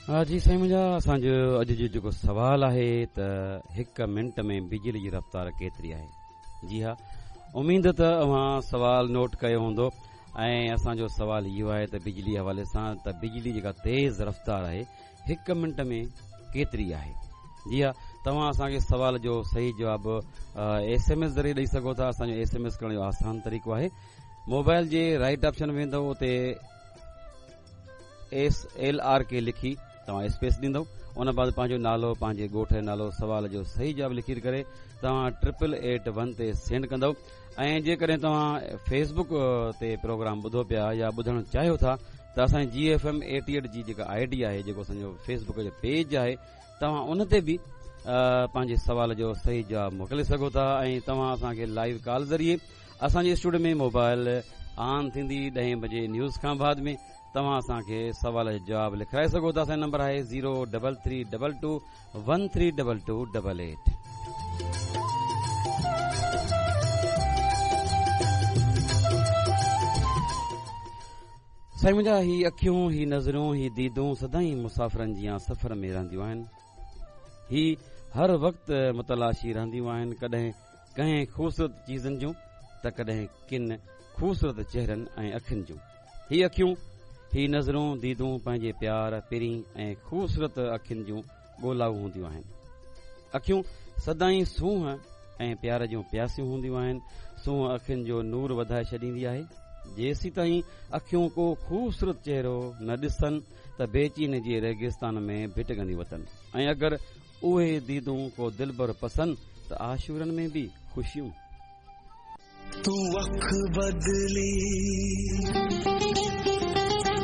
ها جي سائين منهنجا اسان جو اڄ جو جيڪو سوال آهي ته هڪ منٽ ۾ بجلي جي رفتار ڪيتري آهي جي ها اميد ته اوهان سوال نوٽ ڪيو هوندو ۽ اسان جو سوال اهو آهي ته بجلي حوالي سان ته بجلي جيڪا تيز رفتار آهي هڪ منٽ ۾ ڪيتري آهي جي ها توهان اسان کي سوال جو صحيح جواب ايس ايم ايس ذريعي ڏئي سگهو ٿا اسان جو ايس ايم ايس ڪرڻ جو آسان طريقو آهي موبائل جي رائٽ آپشن ويندو اتي ايس ايل آر ڪي لکي توهان اسپيس ڏيندو ان بعد پنهنجو نالو پنهنجي ڳوٺ جو نالو سوال جو صحيح جواب لکي ڪري توهان ٽرپل ايٽ ون تي سينڊ ڪندو ۽ جيڪڏهن توهان فيسبوڪ تي پروگرام ٻڌو پيا يا ٻڌڻ چاهيو ٿا ته اسان جي ايف ايم ايٽي ايٽ جي جيڪا I D آهي جيڪو اسان جو فيسبوڪ جو پيج آهي توهان ان تي به پنهنجي سوال جو صحيح جواب موڪلي سگهو ٿا ۽ توهان اسان کي لائيو ڪال ذريعي اسان جي اسٽوڊيو ۾ موبائل آن ٿيندي ڏهين بجي نيوز کان بعد ۾ توهان اسان کي سوال جو جواب لکرائي سگهو ٿا اسان جو نمبر آهي zero double three double two one three double two double eight. سائين منهنجا هي اکيون هي نظرون هي ديدون سدائين مسافرن جيان سفر ۾ رهنديون آهن هي هر وقت متلاشي رهنديون آهن ڪڏهن ڪنهن خوبصورت چيزن جون ته ڪڏهن ڪن خوبصورت چهرن ۽ اکين جون. هي اکيون، هي نظرون، ديدون پنهنجي پيار، پرين ۽ خوبصورت اکين جون ڳولائو هونديون آهن. اکيون سدائين سونهن ۽ پيار جون پياسيون هونديون آهن. سونهن اکين جو نور وڌائي ڇڏيندي آهي. جيسيتائين اکيون ڪو خوبصورت چهرو نه ڏسن ته بيچيني جي ريگستان ۾ ڀٽڪنديون وتن ۽ اگر اهي ديدون ڪو دلبر پسن ته عاشورن ۾ به خوشيون. تون اک بدلي.